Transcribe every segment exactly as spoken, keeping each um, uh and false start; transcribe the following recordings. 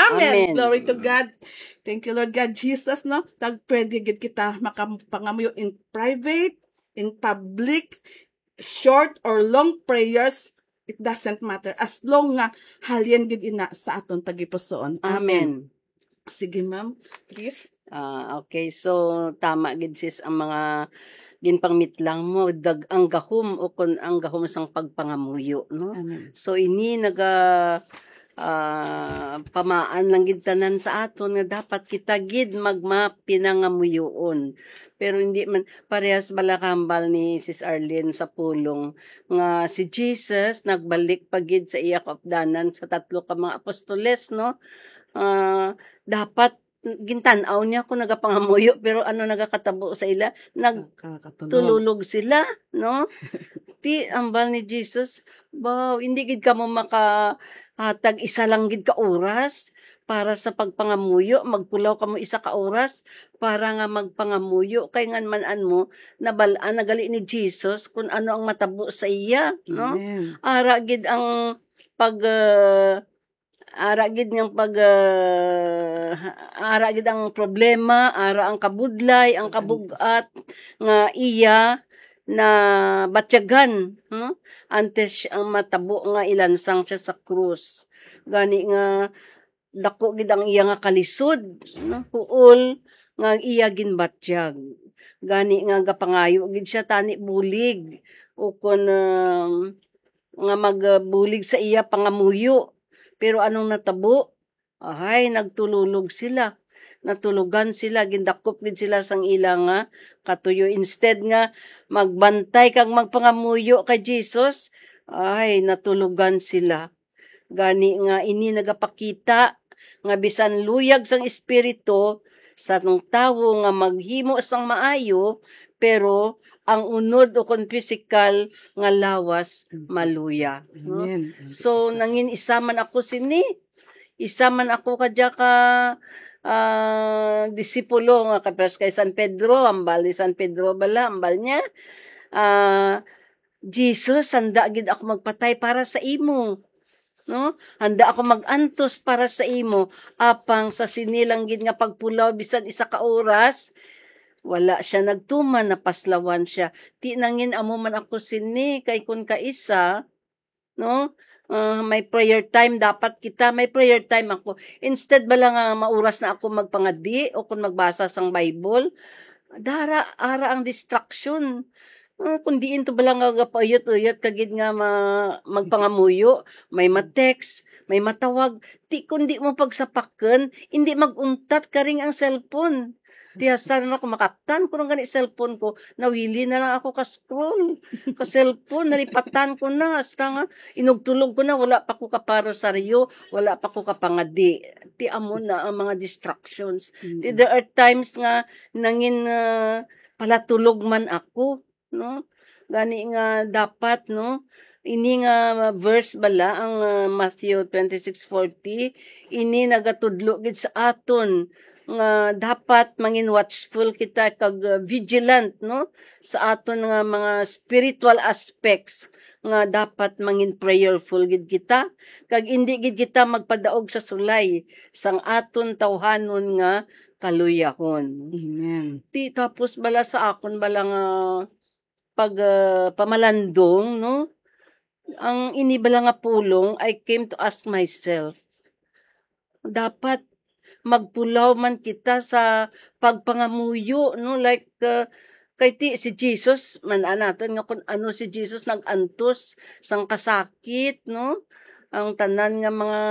Amen. Amen. Glory to God. Thank you, Lord God Jesus, no? Tag pwede gid kita makapangamuyo in private, in public, short or long prayers, it doesn't matter. As long nga halin gid ina sa aton tagipusoon. Amen. Amen. Sige, ma'am. Please. Ah, okay, so tama gid, sis, ang mga ginpangmitlang mo, dag ang gahom o kun ang gahom sang pagpangamuyo, no? Amen. So ini naga ah, pamaan lang gid tanan sa aton nga dapat kita gid magmapinangamuyoon. Pero hindi man parehas bala kahambal ni Sis Arlene sa pulong nga si Jesus nagbalik pa gid sa iya kaupdanan sa tatlo ka mga apostoles, no? Ah, dapat gintan-aw niya kung nagapangamuyo, pero ano nagakatabo sa ila? Nag Kakatulog. Tululog sila, no? Ti ambal ni Jesus, "Baw, hindi gid kamo maka ah, tag isa lang gid ka oras para sa pagpangamuyo, magpulaw kamo isa ka oras para nga magpangamuyo, kay ngan man-an mo nabal-an na gali ni Jesus kung ano ang matabo sa iya, no?" Amen. Ara gid ang pag ah, ara gid nga pag ah, ara gid ang problema, ara ang kabudlay, ang Pag-antos. kabug-at nga iya na batyagan, no? Antes ang matabo nga ilansang siya sa krus. Gani nga dako gid ang iya nga kalisod, no? Huol nga iya ginbatyag. Gani nga gapangayo gid siya tani bulig o kon um, nga magbulig sa iya pangamuyo. Pero anong natabo? Ahay, nagtululog sila. Natulugan sila, gindakop gid sila sang ila nga katuyo. Instead nga magbantay kag magpangamuyo kay Jesus, ay, natulugan sila. Gani nga ini nagapakita nga bisan luyag sang espiritu sa tawo nga maghimo sang maayo, pero ang unod o kon pisikal nga lawas maluya. No? Amen. So, nangin isa man ako sini, isa man ako kadya ka ah, disipulo nga kapres kay San Pedro, ambal ni San Pedro bala, ambal niya, ah, "Jesus, handa gid ako magpatay para sa imo." No? "Handa ako mag-antos para sa imo." Apang sa sini lang gid nga pagpulaw, bisan isa ka oras, wala siya nagtuman, napaslawan siya. Ti nangin amo man ako sini, kay kun kaisa, no? Ah, may prayer time dapat kita, may prayer time ako. Instead bala nga mauras na ako magpangadi o kung magbasa sang Bible, dara ara ang distraction. Ah, kung diin to bala nga gapauyot-uyot ka gid nga ma-, magpangamuyo, may ma-text, may matawag, ti kung di mo pagsapaken, hindi mag-untat karing ang cellphone. Ti hasta na ako makaptan ko lang gani cellphone ko, nawili na lang ako ka scroll ka cellphone, nalipatan ko na, hasta nga inugtulog ko na, wala pa ko kaparosaryo, wala pa ko kapangadi. Ti amo na ang mga distractions. Ti Mm. There are times nga nangin ah, palatulog man ako, no? Gani nga dapat, no? Ini nga verse bala ang ah, Matthew twenty-six forty, ini nagatudlo gid sa aton nga dapat mangin watchful kita kag ah, vigilant, no, sa aton nga mga spiritual aspects nga dapat mangin prayerful gid kita kag indi gid kita magpadaog sa sulay sang aton tawhanon nga kaluyahon. Amen. Ti tapos bala sa akon bala nga pag ah, pamalandong, no, ang ini bala nga pulong, I came to ask myself, dapat magpulaw man kita sa pagpangamuyo, no? Like, uh, kay ti si Jesus, man-an naton nga kung ano si Jesus nag-antos sang kasakit, no? Ang tanan nga mga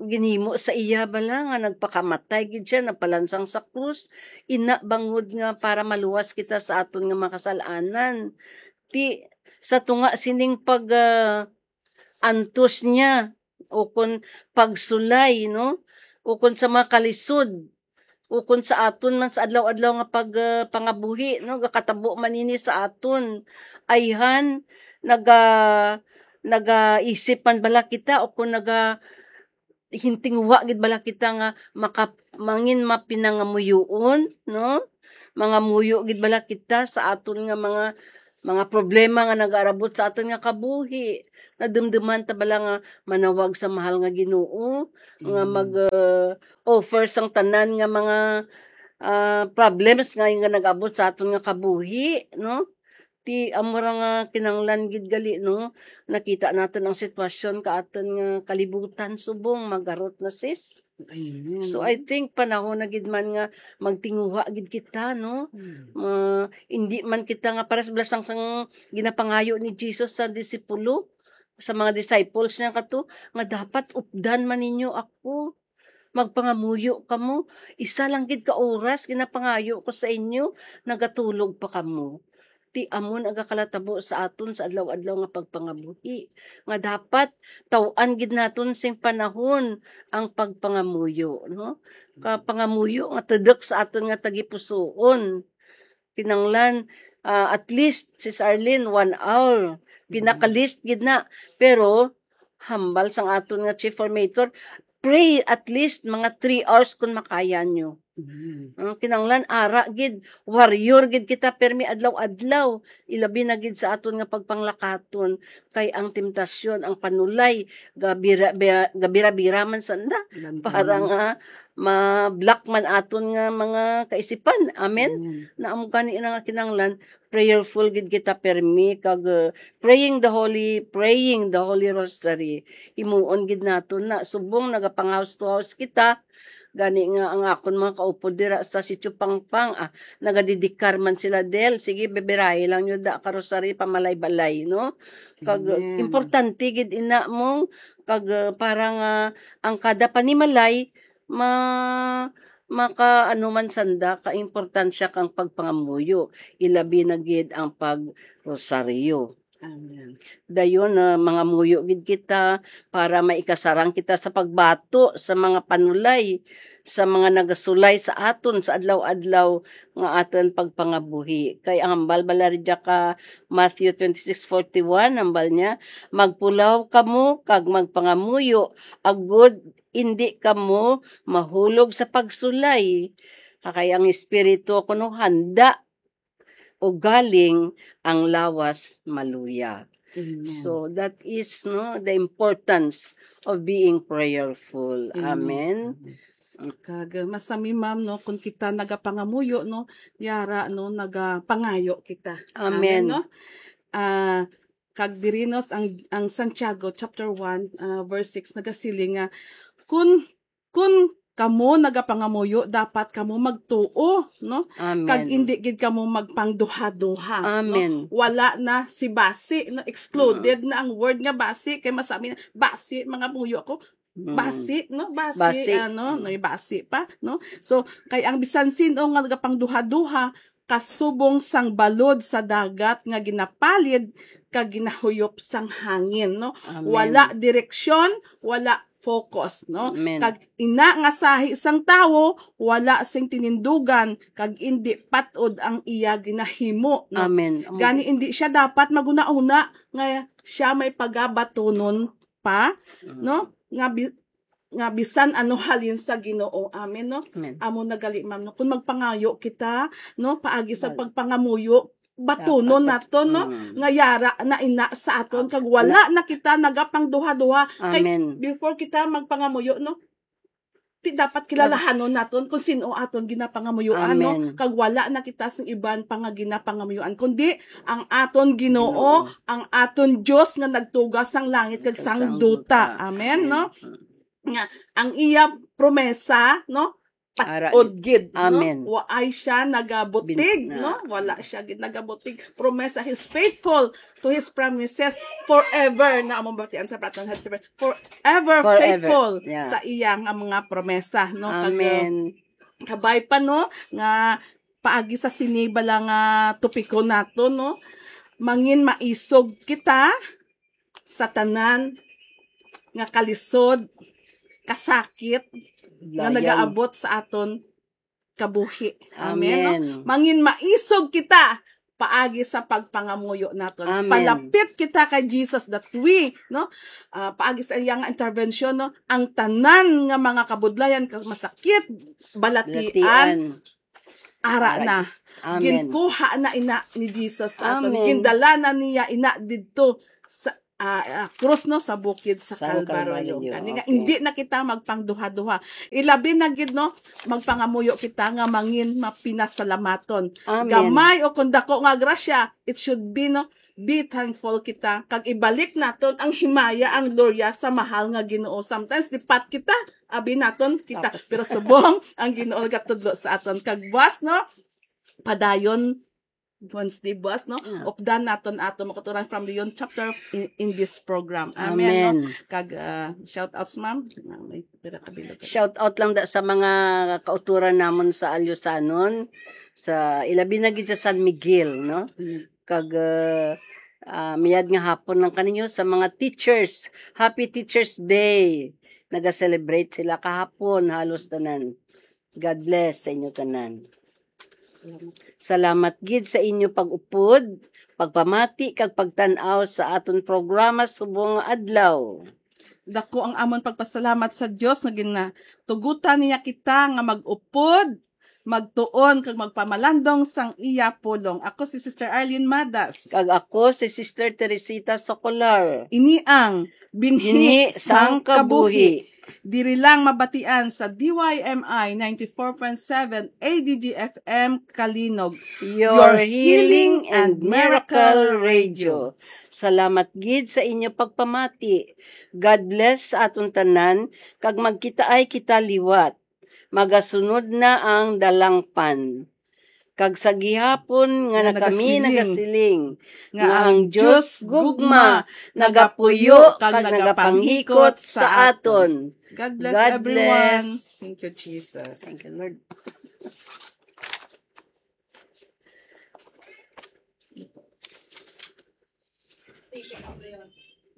ginhimo sa iya bala nga nagpakamatay gid siya, napalansang sa krus, ina bangod nga para maluwas kita sa aton nga mga kasal-anan. Ti sa tunga sining pag ah, antos niya o kon pagsulay, no? O kon sa mga kalisod, o kon sa aton man sa adlaw-adlaw nga pag ah, pangabuhi, no? Gakatabo man ini sa aton. Ayhan naga nagaisip man bala kita o kon naga hintingwa gid bala kita nga maka mangin mapinangamuyoon, no? Mangamuyo gid bala kita sa aton nga mga mga problema nga nagaarabot sa aton nga kabuhi. Nadumduman ta bala nga manawag sa mahal nga Ginoo nga Mm. mag, uh, offer sang tanan nga mga, ah, problems nga, nga nag-abot sa aton nga kabuhi, no? Ti amo ra nga kinahanglan gid gali, no? Nakita naton ang sitwasyon ka aton nga kalibutan subong magarot na, sis. Amen. So, I think panahon na gid man nga magtinguha gid kita, no? Hmm. Ah, hindi man kita nga pares blasang sang ginapangayo ni Jesus sa disipulo, sa mga disciples niya kato, nga dapat updan man ninyo ako. Magpangamuyo kamo. Isa lang gid ka oras ginapangayo ko sa inyo, nagatulog pa kamo. Ti amo nagakalatabo sa aton sa adlaw-adlaw nga pagpangabuhi, nga dapat taw-an gid naton sing panahon ang pagpangamuyo, no? Ka pangamuyo nga tudok sa aton nga tagipusoon. Kinanglan, ah, at least, Sis Arlene, one hour. Pinaka-least gid na. Pero, hambal sang aton nga chief formator, pray at least mga three hours kung makaya nyo. Mm. Ang kinanglan, ara gid, warrior gid kita, permi adlaw-adlaw. Ilabi na gid sa aton nga pagpanglakaton. Kay ang temptasyon, ang panulay, gabira-, bira-, gabira-bira man sanda. Lantaman. Para nga ma-block man aton nga mga kaisipan. Amen? Amen. Na amo gani na nga kinanglan, prayerful gid kita permi, kag, uh, praying the holy, praying the holy rosary. Himuon gid naton na, subong nagapangahouse to house kita, gani nga ang akon mga kaupod dira sa Sitio Pangpang, ah, nagadidikar man sila, Del, sige, beberahi lang nyo da ka rosary pamalay-balay, no? Kag, uh, Amen. Importante gid ina mong, kag, uh, para nga ang kada panimalay, ma-, maka-, ano man sanda, kaimportansya kang pagpangamuyo, ilabi na gid ang pagrosaryo. Amen. Dayon, ah, mangamuyo gid kita para maikasarang kita sa pagbato sa mga panulay, sa mga nagasulay sa aton sa adlaw-adlaw nga aton pagpangabuhi. Kay ang hambal bala rin dya ka Matthew twenty-six forty-one, hambal niya, "Magpulaw kamo kag magpangamuyo, agud indi kamo mahulog sa pagsulay." Kay ang espiritu kuno handa, ugaling ang lawas maluya. Amen. So, that is, no, the importance of being prayerful. Amen. Amen. Amen. Kag, uh, masami, ma'am, no, kung kita nagapangamuyo, no, yara, no, nagapangayo kita. Amen. Amen, no? Ah, kag diri, no, ang, ang Santiago chapter one, ah, verse six nagasiling nga, kun, kun kamo nagapangamuyo, dapat kamo magtuo, no? Amen. Kag indi gid kamo magpangduha-duha, no? Amen. Wala na si basi, no? Excluded Mm. na ang word nga basi, kay masami na, "Basi, mangamuyo ako." Mm. Basi, no? Basi, Basi. ano, Mm. no, basi pa, no? So, kay ang bisan sin-o nga nagapangduha-duha, kasubong sang balod sa dagat nga ginapalid kag ginahuyop sang hangin, no? Amen. Wala direksyon, wala focus, no? Amen. Kag ina nga sahi sang tawo, wala sing tinindugan, kag indi patod ang iya ginahimo, no? Amen. Amo Gani, gid. Indi siya dapat maghunahuna nga siya may pagabatunon pa, Mm. no? Nga bi-, nga bisan ano halin sa Ginoo. Amen, no? Amen. Amo na gali, ma'am, no? Kung magpangayo kita, no, paagi sa Wala. pagpangamuyo, batunon Dapat nato, no? Mm. Nga yara na ina sa aton, kag Ah, wala na kita nagapangduha-duha. Kay Amen. before kita magpangamuyo, no? Ti dapat kilalahanon naton kung sin-o aton ginapangamuyuan, no? Amen. Kag wala na kita sa iban pa nga ginapangamuyuan, kundi ang aton Ginoo, Ginoo. ang aton Dios nga nagtuga sang langit kag Kag sang sang duta. duta. Amen, Amen. no? Mm. Nga ang iya promesa, no? Ara Patod gid. gid, no? Amen. Waay siya nagabutig, Bin-, no? ah. Wala siya gid nagabutig. Promesa, he's faithful to his promises forever. Na among batian sa Platon Head Seven. Forever Forever. faithful Yeah. sa iya nga mga promesa, no? Kag, Amen. kabay pa, no? Nga paagi sa sini bala nga topiko nato, no? Mangin maisog kita sa tanan nga kalisod, kasakit, nga Layan. nagaabot sa aton kabuhi. Amen, no? Amen. Mangin maisog kita paagi sa pagpangamuyo naton. Amen. Palapit kita kay Jesus that we, no? Ah, paagi sa iya nga intervention, no? Ang tanan nga mga kabudlayan, ka-, masakit, balatian, Balatian. ara Ara. na. Amen. Ginkuha na ina ni Jesus sa aton. Amen. Gindala na niya ina didto sa, ah, ah, krus, no, sa bukid sa Kalbaryo. Kalbaryo. Gani nga, okay, hindi na kita magpangduha-duha. Ilabi na gid, no, magpangamuyo kita nga mangin mapinasalamaton. Amen. Gamay o kung dako nga grasya, it should be, no, be thankful kita. Kag ibalik naton ang himaya, ang gloria sa mahal nga Ginoo. Sometimes, lipat kita, abi naton kita. Tapos pero subong ang Ginoo gatudlo sa aton. Kag buwas, no, padayon Wednesday buwas, no? Ah. Updan naton ato mga kauturan from Leon chapter in, in this program. Amen, no? Amen. Kag, ah, shout outs, ma'am. Ah, may pira ka bilog ka. Shout out lang da sa mga kauturan namon sa Alyusanon, sa ilabi na gid sa San Miguel, no? Mm. Kag, ah, ah, mayad nga hapon lang kaninyo sa mga teachers. Happy Teachers Day. Naga-celebrate sila kahapon, halos tanan. God bless sa inyo tanan. Salamat gid sa inyo pag-upod, pagpamati, kag pagtan-aw sa aton programa subong nga adlaw. Dako ang amon pagpasalamat sa Dios nga ginatugutan niya kita nga mag-upod, magtuon, kag magpamalandong sang iya pulong. Ako si Sister Arlene Madas. Kag ako si Sister Teresita Socolar. Ini ang Binhi Binhi sang sang Kabuhi. Kabuhi. Diri lang mabatian sa D Y M I ninety-four point seven A D G F M Calinog. Your Your healing healing and and miracle miracle radio. Radio. Salamat gid sa inyo pagpamati. God bless sa aton tanan, kag magkitaay kita liwat. Magasunod na ang dalangpan. Kag sa gihapon nga Nga na kami nagasiling nagasiling nga nga ang ang Dios Dios gugma gugma nagapuyo nagapuyo kag kag nagapanghikot nagapanghikot sa sa aton. Aton. God bless God everyone. Bless. Thank you, Jesus. Thank you, Lord.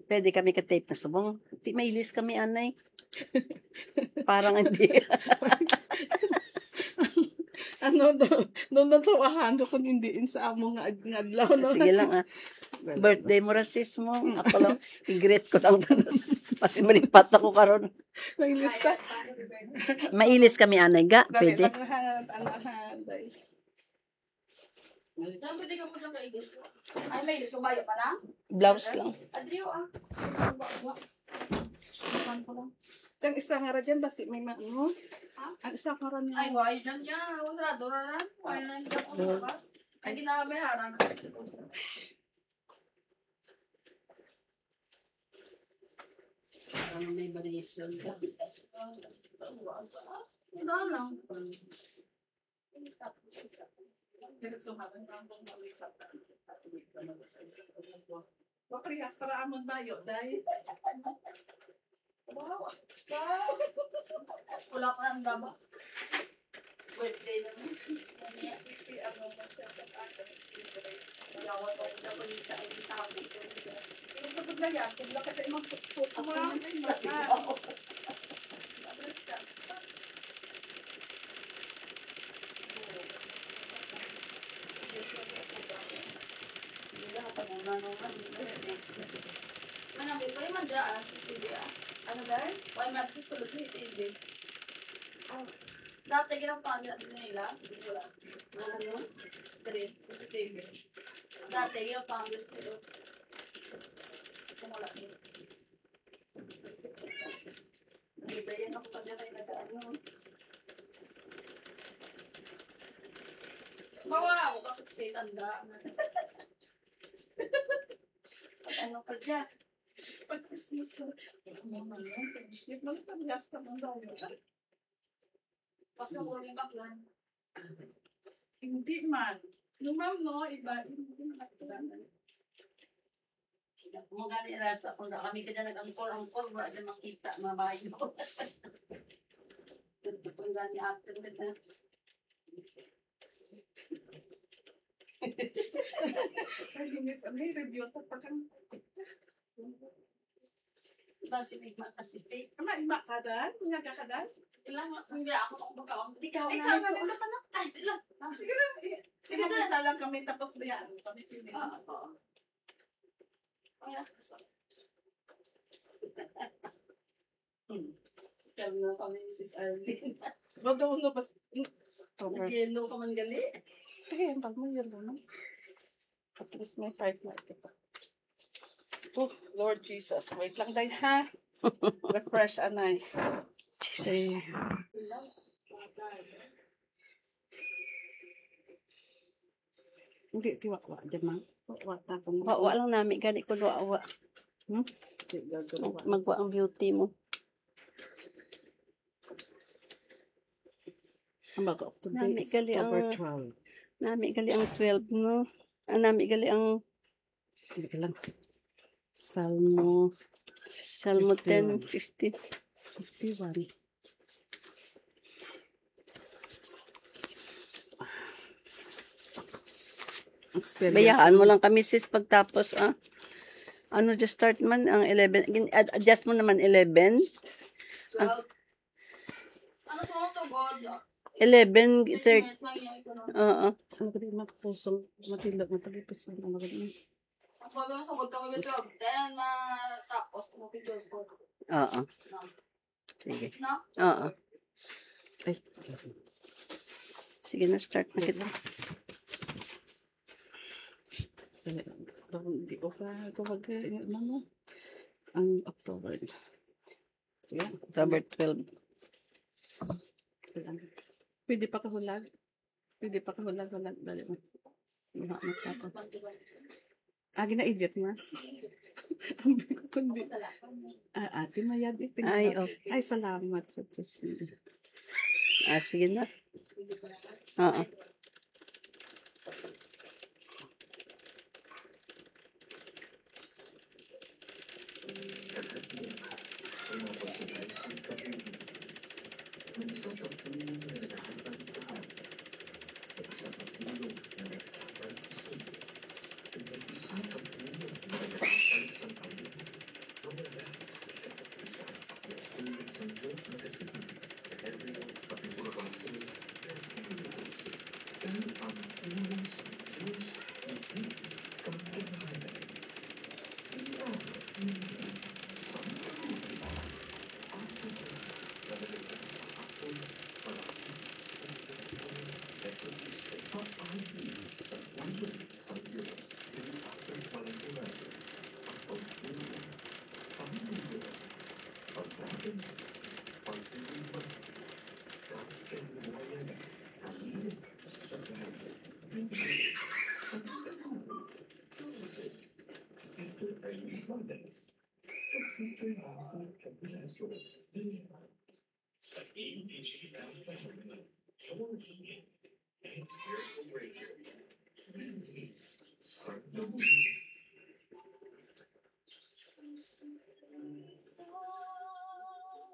Pwede kami ka-tape na subong. Di mailis kami, anay. Parang hindi. Ano, no, no, no, tawahan ko kung hindi in sa amo nga, nga adlaw, no? Sige lang, ah. Dali. Birthday mo, rasis mo. Ako lang, i-greet ko lang. Mas malipat ako karon. May lista. Mailis kami, anay, ga. Dali Pwede. Lang, ha, ano, ha, dali. Ay, may ilis ko, baya pa na? Blouse lang. Adrio, ah. Ba, ba. Kuan ko lang. Ang isa nga ra dyan, basi may ma-, ano? Ha? Ang isa nga ra niya. Ay, why dyan niya? Wala, dura na. Why na niya ako labas? Ay, ginawa may harang. Parang may variation ka. Wala lang. Diretso man ang tambong na may pata. Maparehas para amon bayo, day. Wow. Wow. Wala pa ang daba. Birthday naman. Hindi, ano mo siya sa pata. Wala, wala, wala, wala, wala, wala. Pero kapag na yan, kung wala ka tayo magsuksok, ako man, sa ikaw. Manamit pa naman dyan, ah, si T V, ah. Ano, Dar? Why mag-access ulit si T V? Ah. Dati, ginawa pa nila, dito nila, sa Bicol, ah. Ano? Diri, C C T V. Dati, ginawa pa nila sa Bicol. Kung wala, eh. Ano ba yan? Ako pa dyan ay nag-ano. Bawa ako kasi sa tanda. Ano ka dyan? Pag Christmas, ano naman yun? Pag-, pag-, pag-, pag-, pag-, Pas na ulo yung baklan. Hindi man. No, ma'am, no, iba. Hindi man. Mga ni rasa, kung na kami ka dyan nag-angkor-angkor, wala dyan makita, mga bayo. Kung gani after na dyan. Ay, hindi, sabi, review to pa kang Basi may ma-, kasi fake. Ama, ima ka dan? Nga ka ka dan? Ilang, hindi ako makapagkaon. Di ka Ikaw na na ito. Ito pa na. Ay, ilang. Ah, sige lang. Eh, sige, sige, mag-isa lang kami, tapos bayaan mo kami, sini. Ah, oo. Ay, ah, sorry. Hmm. Sabi nga kami ni Sis Arlene. Ba't daw nga bas-, Nag-yellow ka man gali. Te, ang bag mo yellow na. At least may five na ito. Oh, Lord Jesus. Wait lang, day, ha? Refresh, anay. Jesus. Hindi, tiwa-wa dyan, ma'am. Wa, wa, ta, kung Wa, wa lang nami, gani ko wa, wa. Hmm? Sige, gagawa. Mag-, magwa ang beauty mo. Ang bago, today Nami is gali October ang, twelve. Nami gali ang twelve, no? Ah, nami gali ang Hindi ka lang. Salmo Salmo fifty-one. ten fifty. Fifty-one. Experience Bayaan mo mo. lang kami, sis, pagtapos, ah. Ano, just start man ang eleven. Gin-, ad-, adjust mo naman eleven. Twelve. Ano sa mga sugod? Eleven thirty. Thirty minutes lang yung ito, no? Oo. Ano ka di mapusong, matindog, matagipis ang ano ka di. Ang sabi mo, sugod ka mag-twelve ten, matapos mo mag-twelve forty. Oo. No? Sige. No? Oo. Ay. Sige na, start na kita. Dali, dali, di ko pa, ko mag-, ano mo? Ang October. Sige. October twelve. Pwede pa kahulag. Pwede pa kahulag, hulag. Dali mo. Maha, magtapos. Ah, gina-edit mo? Ang kundi. Ah, Ate Mayad, eh, tingnan Ay, mo. Okay. Ay, salamat sa Diyos. Ah, sige na. Oo.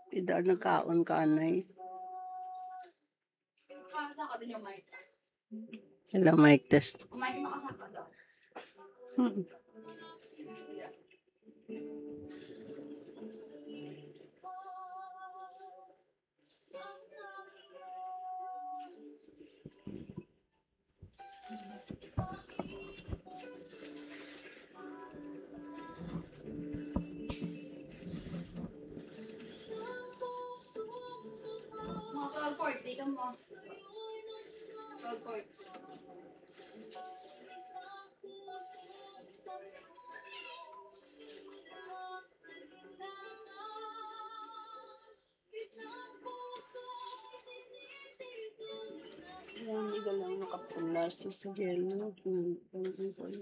Pida nagkaon ka, anay. Hello, mic test. Mm. Mga twelve forty ka mo. Twelve forty. Ayan, hindi ka lang nakapula sa, sa yelo. Ang, ang, ang,